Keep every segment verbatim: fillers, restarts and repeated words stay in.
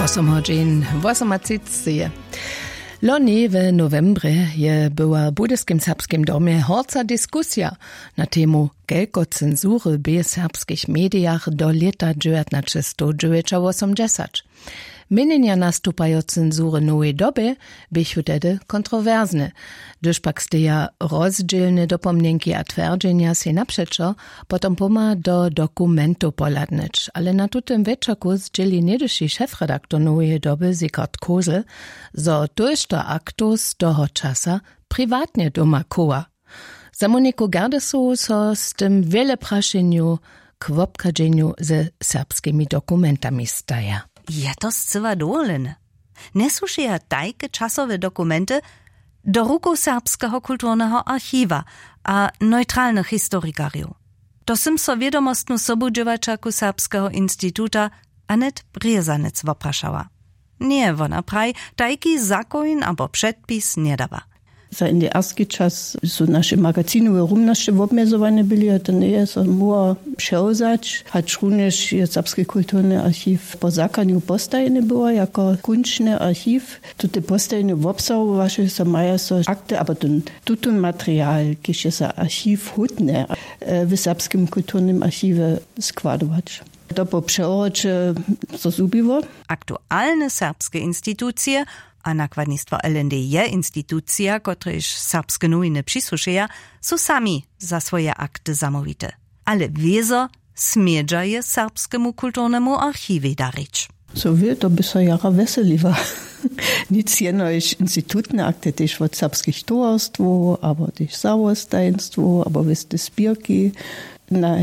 Som hodźin wosomatřiceje. Loni w nowembrje je była w budyskim serbskim domje horca diskusija na temu, kelko cenzury bě w serbskich medijach do lěta dźewjatnaćestowdźewjećawosomdźesać. Měnjenja nastupajo cenzury nowej dobje běchu tehdy kontrowersne. Hdyž pak steja rozdźělne dopomnjenki a twjerdźenja sej napřećo, potom pomha do dokumentow pohladnyć. Ale na tutym wječorku zdźěli něhdyši šefredaktor noweje doby Sigurd Kosel, zo tójšto aktow z toho časa priwatnje doma chowa. Za Moniku Gerdesowu so z tym wjele prašenjow k wobchadźenju ze serbskimi dokumentami staja. Je to scyła dowolene? Njesłušeja tajke časowe dokumenty do rukow Serbskeho kulturneho archiwa a neutralnych historikarjow? To sym so wědomostnu sobudźěłaćerku Serbskeho instituta Anet Brězanec woprašała. Njeje, wona praji, tajki zakoń abo předpis njedawa. Za N D R-ski čas su naše magazinowe rumnosće wobmjezowane byli a to njeje so móhło přewzać, hačrunjež je Serbski kulturny archiw po zakonju postajeny była jako kónčny archiw. Tute postajene wobsahowaše so, maja so akty abo ten tutón material, kiž je za archiw hódny, w Serbskim kulturnym archiwje składować. To po přewroće so zhubiło. Aktualne serbske institucije, a nakładnistwo L N D je institucija, kotrež Serbske nowiny přisłušeja, su sami za swoje akty zamołwite. Ale wězo smědźa je Serbskemu kulturnemu archiwej darić. Co wě, to by so jara wjeseliła. Nic jenož institutne akty, tež wot serbskich towarstwow abo tež zawostajenstwow abo wěste spěrki. Na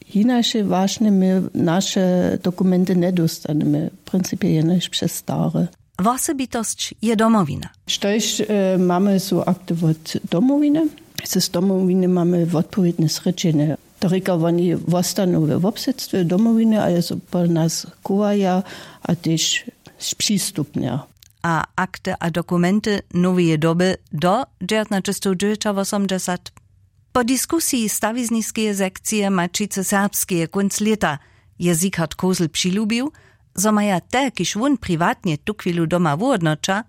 hinaše wašnje my naše dokumenty njedóstanemy, w principje jenož přez stare. Wosebitosć je Domowina. Štož mamy, su akty wot Domowiny. Z Domowiny mamy wotpowědne srěčenje. To rěka, woni wostanu we wobsydstwje Domowiny a je so po nas chowaja a tež spřistupnja. A akty a dokumenty noweje doby do dźewjatnaćestowdźewjećawosomdźesat? Po diskusiji stawizniskeje sekcije Maćicy serbskeje kónc lěta je Sigurd Kosel přilubił, zo maja te, kiž wón priwatnje tuchwilu doma wuhódnoća,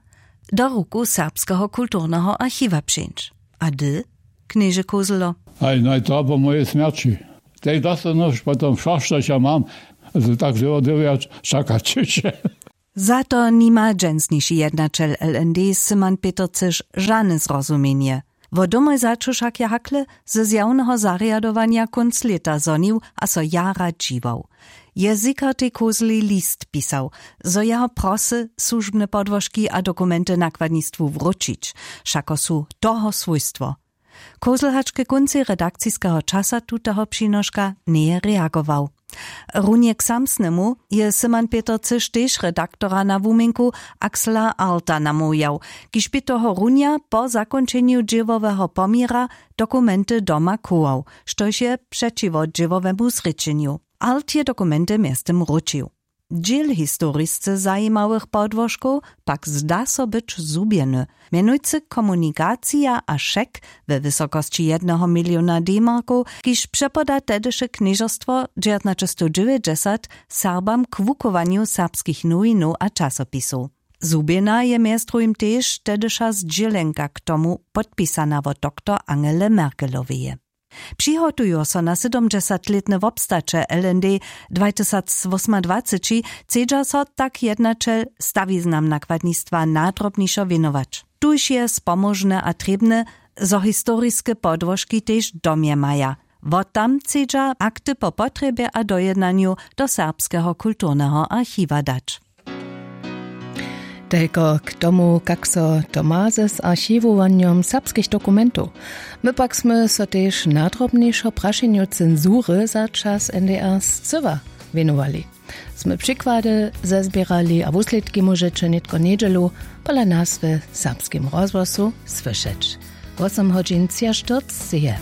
do rukow Serbskeho kulturneho archiwa přińć. A hdy, knježe Koselo? Haj, naj to po mojej smjerći. Tej dostanoš potom wšo, štož ja mam. Zo tak dyrjo dyrjo čakać. Za to nima dźensniši jednaćel L N D Simon Petercyš žane zrozumjenje. Wo domoj začu wšak je hakle ze zjawneho zarjadowanja kónc lěta zhonił a so jara dźiwał. Je Sigurtej Koseli list pisał, zo jeho prosy słužbne podłožki a dokumenty nakładnistwu wróćić, wšako su toho swójstwo. Kosel hač ke kóncej redakciskeho časa tuteho přinoška njeje reagował. Runje k samsnemu je Simon Petercyš tež redaktora na wuměnku Axela Arlta namołwjał, kiž bě tohorunja po zakónčenju dźěłoweho poměra dokumenty doma chował, štož je přećiwo dźěłowemu zrěčenju. Arlt je dokumenty mjeztym wróćił. Dźěl historisce zajimałych podłožkow pak zda so być zhubjeny, mjenujcy komunikacija a šek we wysokosći jedneho miliona D-markow, kiž přepoda tehdyše knježerstwo dźewjatnaćestowdźewjećdźesat Serbam k wuchowanju serbskich nowinow a časopisow. Zhubjena je mjez druhim tež tehdyša zdźělenka k tomu, podpisana wot doktor Angele Merkeloweje. Přihotujo so na sydomdźesatlětne wobstaće L N D dwatysacwosomadwaceći, chcedźa so tak jednaćel stawiznam nakładnistwa nadrobnišo wěnować. Tuž je spomóžne a trěbne, zo historiske podłožki tež w domje maja. Wot tam chcedźa akty po potrjebje a dojednanju do Serbskeho kulturneho archiwa dać. Telko k tomu, kak so to ma z archiwowanjom serbskich dokumentow. My pak smy so tež nadrobnišo prašenju cenzury za čas N D R scyła wěnowali. Smy přikłady zezběrali a wuslědki móžeće nětko njedźelu pola nas w Serbskim rozhłosu słyšeć. Wosem hodźin třiaštyrceće je.